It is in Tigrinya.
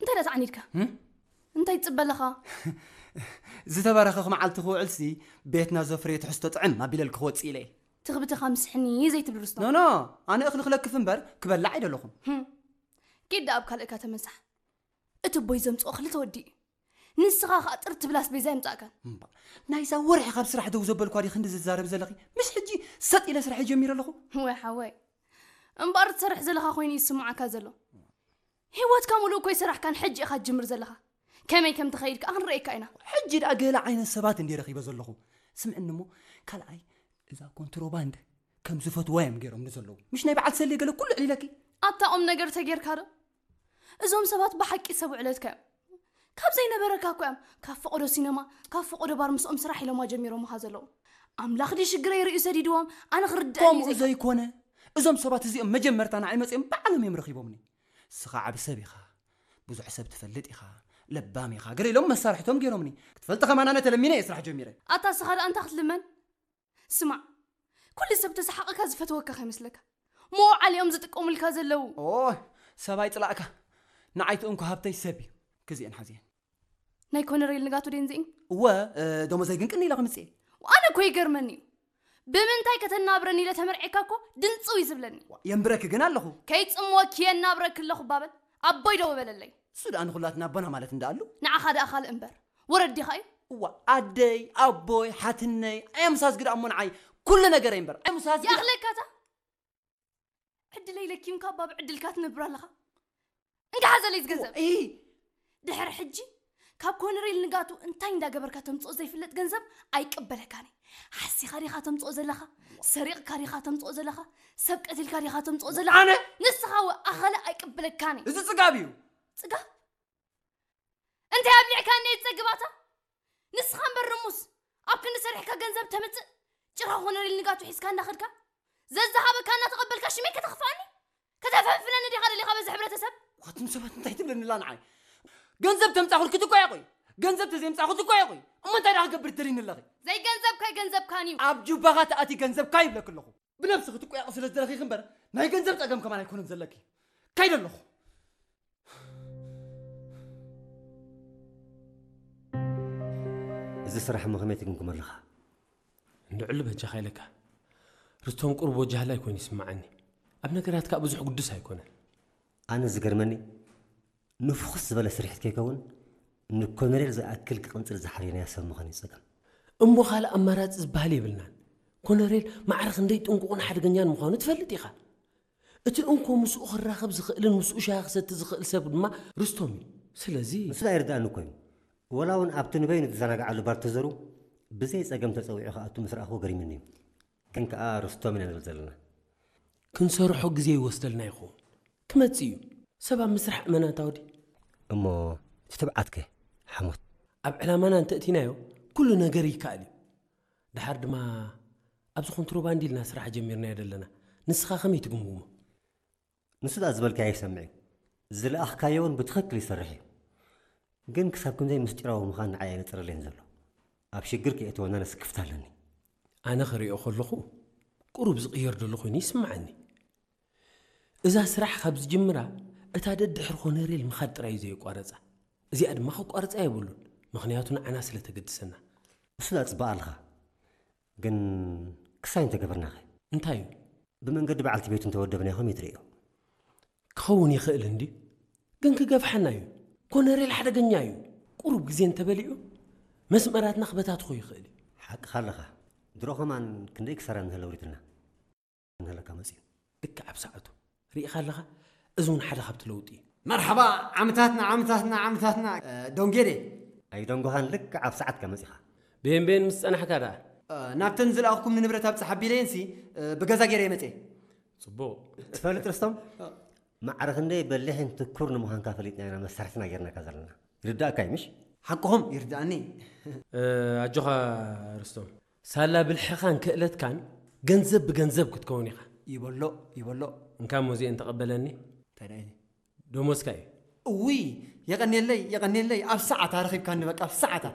እንታይ ደኣ ተዓኒድካ? ህም? እንታይ ትጽበ ኣለኻ? ዝተባረኸ መዓልቲ ክውዕልሲ ቤትና ዘፍርዮ ትሕዝቶ ጥዕም ኣቢለል ክወፅእ ኢለ። ትኽብትኻ ምስሕኒ ዘይትብል ርስቶ። ኖኖ፣ ኣነ እኽሊ ክለክፍ እምበር ክበላዕ ኣይደለኹም። ኪድ ኣብ ካልእካ ተመሳሕ። እቲ ቦይ ዘምፅኦ ክልተ ወዲ እዩ። ንስኻ ከዓ ጥር ትብላስ ቤዛ ይምፃእካን። እምባ፣ ናይዛ ወርሒ ካብ ስራሕ ደው ዘበልኳ ዲ ክንዲ ዝዛረብ ዘለኺ? ምስ ሕጂ ሰጥ ኢለ ስራሕ ጀሚረ ኣለኹ። ወይ ሓወይ፣ እምበኣር ትሰርሕ ዘለኻ ኮይኑ ይስምዓካ ዘሎ። ህይወትካ ሙሉእ እኮ ይሰራሕካን ሕጂ ኢኻ ትጅምር ዘለኻ። ከመይ ከም ትኸይድ ከዓ ክንርእየካ ኢና። ሕጂ ደኣ ገለ ዓይነት ሰባት እንዲ ረኺበ ዘለኹ። ስምዕኒ እሞ፣ ካልኣይ፣ እዛ ኮንትሮባንድ ከም ዝፈትዋ እዮም ገይሮም ንዘለዉ። ምሽ ናይ በዓል ሰሌ ገለ ኩሉ ዕሊለኪ። ኣታ ቁም ነገር ተጌርካ ዶ? እዞም ሰባት ብሓቂ ሰብ ውዕለትካ እዮም። ካብ ዘይነበረካ እኮ እዮም ካብ ፈቐዶ ሲነማ፣ ካብ ፈቐዶ ባር ምስኦም ስራሕ ኢሎማ ጀሚሮምኻ ዘለዉ። ኣምላኽ ድዩ ሽግረይ ርእዩ ሰዲድዎም? ኣነ ክርድኣኒ እዩ ከምኡ ዘይኮነ፣ እዞም ሰባት እዚኦም መጀመርታ ንዓይ መፅኦም ባዕሎም እዮም ረኺቦምኒ። ንስኻ ዓቢ ሰብ ኢኻ፣ ብዙሕ ሰብ ትፈልጥ ኢኻ፣ ለባም ኢኻ፣ ገለ ኢሎም መሳርሕቶም ገይሮምኒ። ክትፈልጥ ከማን ኣነ ተለሚነ እየ ስራሕ ጀሚረ። ኣታ ንስኻ ደኣ እንታይ ክትልመን? ስማዕ፣ ኩሉ ሰብ ተሰሓቐካ ዝፈተወካ ከይመስለካ። መውዓሊኦም ዝጥቀሙልካ ዘለዉ። ኦ፣ ሰብ ኣይፅላእካ። ንዓይ ትእንኮ ሃብተይ ሰብ እዩ። ክዚአን ሓዚአን። ናይ ኮነሬል ንጋቱ ደንዚእን እወ፣ እ፣ ደሞዘይ ግን ቅኒ ኢለ ክምፅእ እየ። ኣነ እኮ ይገርመኒ እዩ። ብምንታይ ከተናብረኒ ኢለ ተመርዔካ እኮ ድንፅው እዩ ዝብለኒ። የንብረኪ ግን ኣለኹ። ከይፅምወኪ የናብረኪ ኣለኹ ባበል ኣቦይ ደው በለለይ። እሱ ደኣ ንኹላትና ኣቦና ማለት እንዳኣሉ። ንዓኻ ደኣ ካልእ እምበር ወረዲኻ እዩ። እዋ፣ ኣደይ፣ ኣቦይ፣ ሓትነይ፣ ኣያምሳዝጊ ደኣ እሞ ንዓይ ኩሉ ነገረይ እምበር ኣያምሳዝጊ ደኣ- ይኣኽለካታ። ዕድለይ ለኪምካ ባብ ዕድልካ ትነብር ኣለኻ። እንካ ሓዘለይ ዝገንዘብ እይ፣ ድሕሪ ሕጂ ካብ ኮነሬል ንጋቱ እንታይ እንዳገበርካ ተምፅኦ ዘይፍለጥ ገንዘብ ኣይቅበለካን እየ። ሓሲኻ ዲኻ ተምፅኦ ዘለኻ? ሰሪቕካ ዲኻ ተምፅኦ ዘለኻ? ሰብ ቀቲልካ ዲኻ ተምፅኦ ዘለኻ? ኣነ ንስኻ ወ ኣኸለ ኣይቅበለካን እየ። እዚ ፅጋብ እዩ። ፅጋብ እንታይ ኣብሊዕካኒ እየ ዝፀግባታ? ንስኻ እምበር ርሙስ ኣብ ክንዲ ሰሪሕካ ገንዘብ ተምፅእ ጭራ ኮነሬል ንጋቱ ሒዝካ እንዳኸድካ ዘዝሃበካ እናተቐበልካ ሽመይ ከተኽፍኣኒ ከተፈንፍነኒ ዲኻ ደሊኻ በዚ ሕብረተሰብ? ዋትም ሰባት እንታይ ትብለኒ ኣላ ንዓይ? ገንዘብ ተምፃኹልኪ ትኮ እየ ቆይ፣ ገንዘብ ተዘይምፃኹ ትኮ እየ ቆይ። እሞ እንታይ ደኣ ክገብር ትደልይኒ ኣለኺ? ዘይገንዘብካ ኣይገንዘብካን እዩ። ኣብ ጁባኻ ተኣቲ ገንዘብካ ይብለኪ ኣለኹ። ብነብስኺ ትቆያቕ ስለ ዝደለኺ እምበር ናይ ገንዘብ ፀገም ከማን ኣይኮነን ዘለኪ። ከይደ ኣለኹ። እዚ ስራሕ እሞ ከመይ ትግምግሞ ኣለኻ? እንድዕሉ በጃኻ ኢለካ። ርስቶም ቁሩብ ወጃህላይ ኮይኑ ይስምዓኒ። ኣብ ነገራት ከኣ ብዙሕ ግዱስ ኣይኮነን። ኣነ ዝገርመኒ ንፉኽስ ዝበለ ስርሒት ከይከውን ንኮነሬል ዝኣክል ክቕንጽል ዝሓርየናዮ ሰብ ምዃኑ እዩ ጸገም። እሞ ካልእ ኣማራጺ ዝበሃል የብልናን። ኮነሬል ማዕረ ክንደይ ጥንቁቕን ሓደገኛን ምዃኑ ትፈልጥ ኢኻ። እቲ እንኮ ምስኡ ክራኸብ ዝኽእልን ምስኡ ሻሂ ክሰቲ ዝኽእል ሰብ ድማ ርስቶም እዩ። ስለዚ ንሱ ደኣ ይርድኣኒ እኮ እዩ። ወላ እውን ኣብቲ ንበይኑ ዝዘናግዓሉ ባር ተዘሩ ብዘይ ጸገም ተጸዊዑ ክኣቱ ምስ ረኣኽዎ ገሪሙኒ እዩ። ግን ከኣ ርስቶም ኢና ንብል ዘለና። ክንሰርሖ ግዜ ይወስደልና ይኸውን። ክመጽእ እዩ። ሰብ ኣብ ምስራሕ እመን ኣታ ወዲ። እሞ እቲ ትብዓትከ ሓሞት? ኣብ ዕላማና እንተእቲናዮ ኩሉ ነገር ይከኣል እዩ። ደሓር ድማ ኣብዚ ኮንትሮባንድ ኢልና ስራሕ ጀሚርናዮ ዘለና። ንስኻ ከመይ ትግምግሞ? ንሱ ደኣ ዝበልካዮ ይሰምዕ እዩ። ዝለኣኽካዮ እውን ብትኽክል ይሰርሕ እዩ። ግን ክሳብ ክንደይ ምስጢራዊ ምዃን ንዓይ ኣየነጽረለይን ዘሎ። ኣብ ሽግር ከየእትወና ነስክፍታ ኣለኒ። ኣነ ክሪኦ ከለኹ ቁሩብ ዝቕየር ዘሎ ኮይኑ ይስምዓኒ። እዛ ስራሕ ካብ ዝጅምራ እታ ደድሕሪ ኮነሬል ምኻድ ጥራይ እዩ ዘየቋረጻ። እዚኣ ድማ ከቋርጻ የብሉን፣ ምኽንያቱ ንዓና ስለ ተገድሰና። ንሱ ደኣ ጽባቕ ኣለኻ። ግን ክሳይ እንተገበርናኸ? እንታይ እዩ? ብመንገዲ በዓልቲ ቤቱ እንተወደብናዮ ከመይ ትርእዮ? ክኸውን ይኽእል እንድዩ፣ ግን ክገፍሓና እዩ። ኮነሬል ሓደገኛ እዩ። ቁሩብ ግዜ እንተበሊዑ መስመራትና ክበታትኾ ይኽእል እዩ። ሓቅኻ ኣለኻ። ድሮ ኸማን ክንደይ ክሳራ እንሀለ ኣውሪዱልና። እንሀለካ መጺኡ። ልክዕ ኣብ ሰዓቱ። ርኢኻ ኣለኻ? እዚ እውን ሓደ ካብቲ ለውጢ እዩ። መርሓባ ዓምታትና ዓምታትና ዓምታትና እ፣ ዶንጌዴ። ኣይደንጎኻን ልክዕ ኣብ ሰዓትካ መጺኻ። ቤን ቤን ምስ ጸናሕካ ደኣ። እ፣ ናብተን ዝለኣኽኩም ንንብረት ኣብጽሕ ኣቢለየንሲ እ፣ ብገዛ ገይረ የመጽየ። ጽቡቕ። ትፈልጥ ርስቶም፣ ማዕረ ክንደይ በሊሕን ትኩር ንምዃንካ ፈሊጥና ኢና መሳርሕትና ጌርናካ ዘለና። ይርዳእካ እዩ ምሽ? ሓቅኹም ይርዳእኒ። እ፣ ኣጆኻ ርስቶም፣ ሳላ ብልሕኻን ክእለትካን ገንዘብ ብገንዘብ ክትከውን ኢኻ። ይበሎ ይበሎ። እንካ እሞ እዚኤን ተቐበለኒ። እንታይ ደኣ ኢለ? ደሞዝካ እዩ። እውይ የቐንየለይ የቐንየለይ፣ ኣብ ሰዓታ ረኺብካኒ በቃ ኣብ ሰዓታ።